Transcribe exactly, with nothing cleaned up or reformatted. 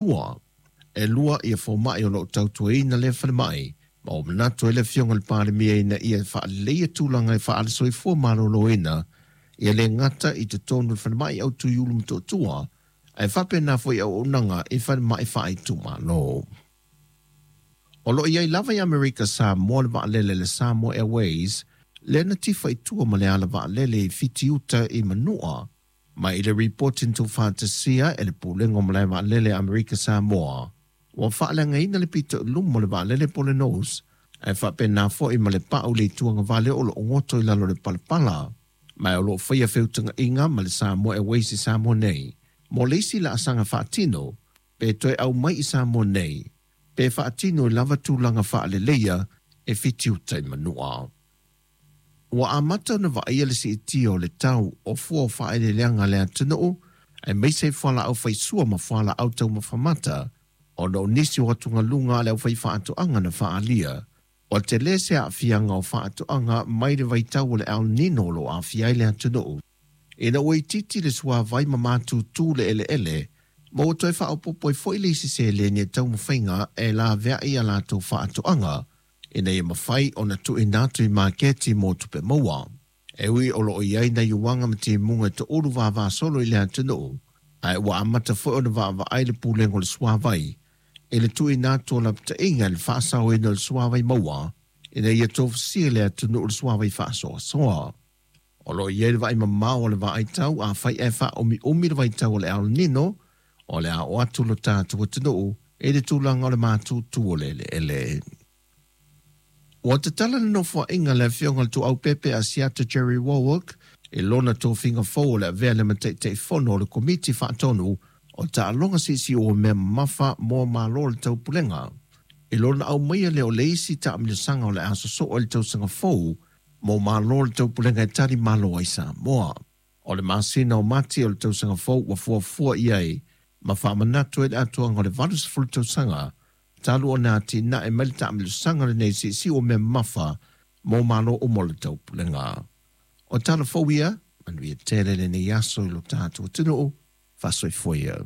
Ua e lua ia fomaʻi o loo tautuaina lea falemai, ma ua manatu ai le Afioga i le Palemia ina ia faaleleia tulaga e faale-soifua maloloina ia le gata i totonu o le falemai autu i Ulu Motootua, ae faapena foi auaunaga i falemai faaitumalo. O loo i ai lava i Amerika Samoa le vaalele le Samoa Airways lea na tifa i tua ma le ala vaalele i Fitiuta i Manua. Ma i le ripoti na tuufaatasia e le Pulega o Malae Vaalele a Amerika Samoa, ua faaleagaina le pito i luma o le vaalele po o le nose, ae faapena foi ma le pau i le ituagavale o loo goto i lalo o le palapala. Ma o loo faia feutagaiga ma le Samoa Airways i Samoa nei mo le isi laasaga faatino, pe toe aumai i Samoa nei, pe faatino i lava tulaga faaleleia e Fitiuta i Manua. Ua amata ona vaaia le siitia o le tau o fua o faaeleeleaga a le atunuu, aemaise i fualaau faisua ma fualaau taumafa mata, ona o nisi o atugaluga a le aufaifaatoaga na faaalia. Ua tele se aafiaga o faatoaga mai le vaitau o le El Nino o loo aafia ai le atunuu, ina ua itiiti le suavai ma matutu le eleele, ma ua toe faaopoopo ai foi le isi seleni e taumafaiga e laveai a latou faatoaga ina ia mafai ona tuuina atu i maketi mo tupe maua. E ui o loo i ai nai uaga ma timuga e toulu vavasolo i le atunuu, ae ua amata foi ona vaavaai le Pulega o le Suavai i le tuuina atu o lapataiga i le faasaoina o le suavai maua ina ia tofusia le atunuu i le suavai faasoasoa. O loo i ai le vaai mamao o le vaai tau afai ae faaumiumi le vaitau o le El Nino, o le a oo atu lo tatou atunuu i le tulaga o le matutu o le eleele. Ua tatala le nofoaiga a le Afioga i le Tuuaupepe Asiata Jerry Warwick i lona tofiga fou o le avea lea ma Taitaifono o le Komiti Faatonu o Taaloga Siisii o Mea Mamafa mo Malo o le Taupulega, i lona aumaia lea o le isi taamilosaga o le a sosoo i le tausaga fou mo Malo o le Taupulega e tali malo ai Samoa. O le masina o Mati o le tausaga fou ua fuafua i ai ma faamanatu ai le atoaga o le valusefulu tausaga talu ona atinae mai le taamilosaga lenei siisii o mea mamafa mo Malo uma o le Taupulega. O tala fou ia, manuia tele lenei aso i lo tatou atunuu, faasoifua ia.